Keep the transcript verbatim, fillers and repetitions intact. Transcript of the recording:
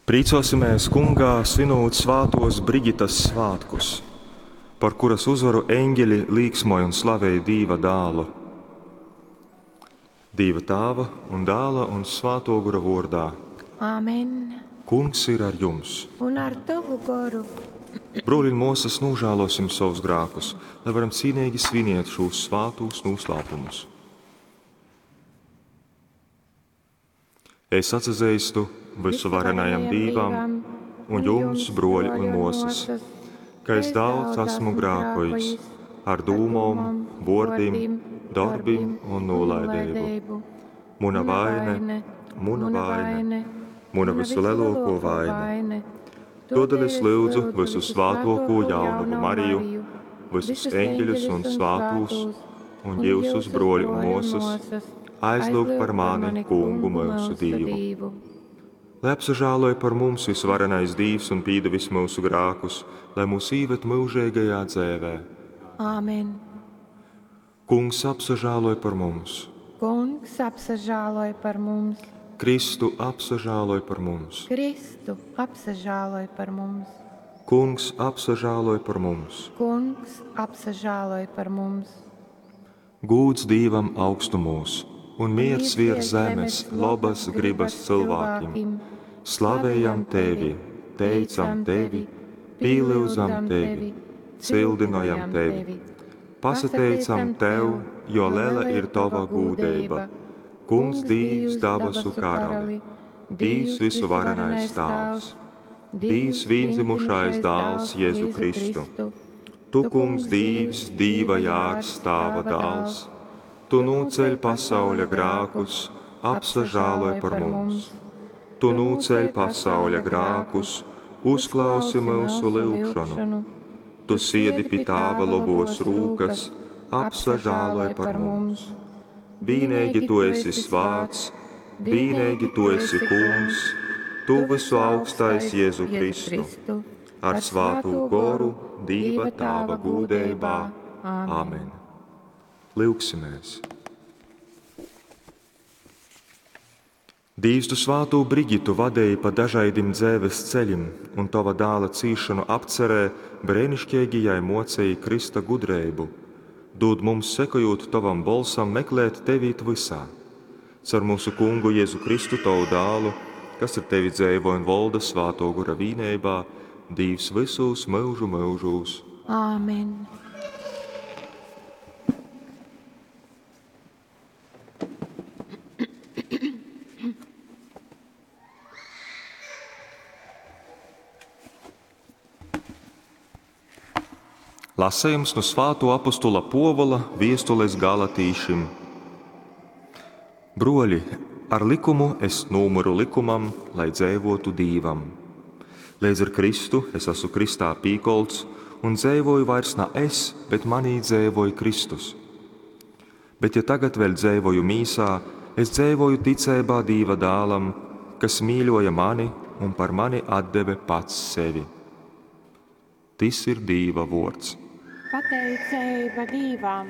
Prīcōsimēs Kungā, svinūt svātōs Brigitas svātkus, par kuras uzvaru eņģeļi līksmoj un slavej Dīva dālu. Dīva Tāva un Dāla un Svātō Gora vōrdā. Āmen. Kungs ir ar jums. Un ar tovu goru. Brōļi un mōsas, nožēlosim savus grākus, lai varam cīnīgi sviniet šūs svātūs noslēpumus. Es atsazeistu visuvarenajam Dīvam un jums, broļi un mosas, ka es daudz esmu grākojis ar dūmom, vōrdim, darbim un nolaideibu. Muna vaine, muna vaine, muna visulielāko vaine. Todēļ es lūdzu visu svātoko jaunavu Mariju, visus eņģeļus un svātūs, un jūsus, broļi un mosas, aizlūgt par mani, Kungu mūsu Dievu. Lai apsažāloja par mums visvarenais Dīvs un pīdevis mūsu grākus, lai mūs īved mūžīgajā dzēvē. Āmen. Kungs apsažāloja par mums. Kungs apsažāloja par mums. Kristu apsažāloj par mums. Kristu apsažāloj par mums. Kungs apsažāloj par mums. Kungs apsažāloj par mums. Gūds Dīvam augstumūs un miers virs zemes labas gribas cilvēkiem. Slavējam tevi, teicam tevi, pīlyudzam tevi, cildinojam tevi. Pasateicam tev, jo lela ir tava gūdeiba. Kungs Dīvs dabasu karali, Dīvs visuvarenais Tāvs, Dīvs vīndzimušais dāls Jēzu Kristu. Tu, Kungs Dīvs, Dīva jārs, Tāva dāls, Tu nūceļ pasauļa grākus, apsažāloj par mums. Tu nūceļ pasauļa grākus, uzklausi mūsu lūgšanu. Tu siedi pie Tāva lobos rūkas, apsažāloj par mums. Vīnīgi Tu esi svāts, vīnīgi Tu esi Kungs, Tu visu augstais Jēzu Kristu, ar svātū goru Dīva Tāva gūdeibā. Āmen. Lūgsimies! Dīvs, tu svātū Brigitu vadēji pa dažaidim dzēves ceļim un tava dāla cīšanu apcerē brēnišķīgi jai mocēji Krista gudreibu. Dūd mums, sekojot tavam bolsam, meklēt tevi it visā. Caur mūsu kungu Jēzu Kristu, tavu dālu, kas ar tevi dzēvo un volda svāto gora vīneibā, Dīvs visūs mūžu mūžūs. Āmen. Lasījums no Svāto apostula Povola viestules Galatīšim. Broļi, ar likumu es nūmuru likumam, lai dzēvotu Dīvam. Līdz ar Kristu es esmu Kristā pīkolts un dzēvoju vairs ne es, bet manī dzēvoja Kristus. Bet ja tagad vēl dzēvoju mīsā, es dzēvoju ticībā Dīva dālam, kas mīļoja mani un par mani atdeve pats sevi. Tis ir Dīva vords. Pateiceiba Dīvam!